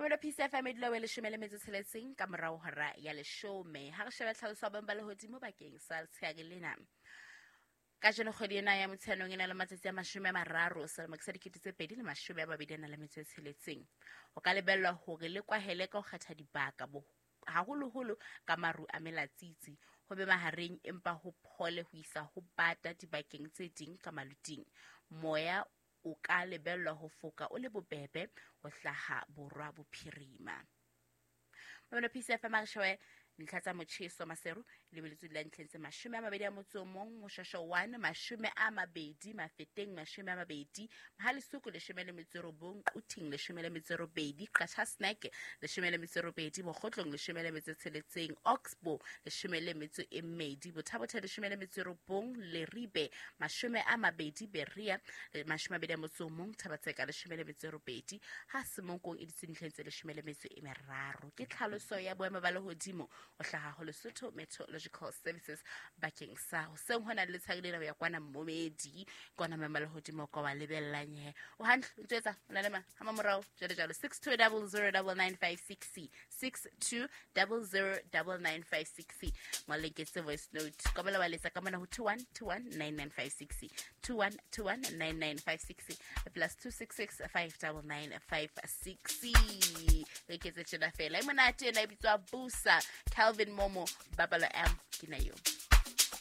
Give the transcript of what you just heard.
Mamelo Peace FM e dula o 16 ka morao hora ya 10. Ha re shebe tlhaloso ya boemo ba lehodimo bakeng sa letsheare lena. Kajeno kgwedi ena ya Motsheanong e na le matsatsi a 30 selemo ke sa 2026. Ho ka lebellwa hore le kwahele ka ho kgetha dibaka haholoholo ka maru a melatsitsi, ho be mahareng empa ho phole ho isa ho bata dibakeng tse ding ka maluting. Moya o ka lebellwa ho foka o le bobebe ho hlaha borwa bophirima. Mamelo Peace FM, a re shebe ntlha tsa motjheso. Maseru lebeletswe la ntlheng tse 21, Moshasho 1 20, Mafeteng 20, Mohalesuku 19, Quthing 18, Qacha Snack 18, Mokgotlong 16, Oxbow 12, Bothabotha 19, Leribe 20, Berea 21, Thabatseka 18, ha Semonkong e ditse ntlheng tse 13. Ke tlhaloso ya boemo ba lehodimo o hlaha ho Lesotho Meteorological Services bakeng sa hoseng hona le letshadi lena ho ya kwana Mmomedi kwana maemo a lehodimo kwa wa lebellang he o hantle o ntse etsa o na le ma ha mamorao jwalo jwalo. 62009956, 62009956, ngwaleketse voice note ka bala wa letsa ka mona ho 21219956, 21219956, plus 266 59956. Re ketse tjena fela e monate ena e bitswa Busa Calvin Momo Babalo M ke na yo.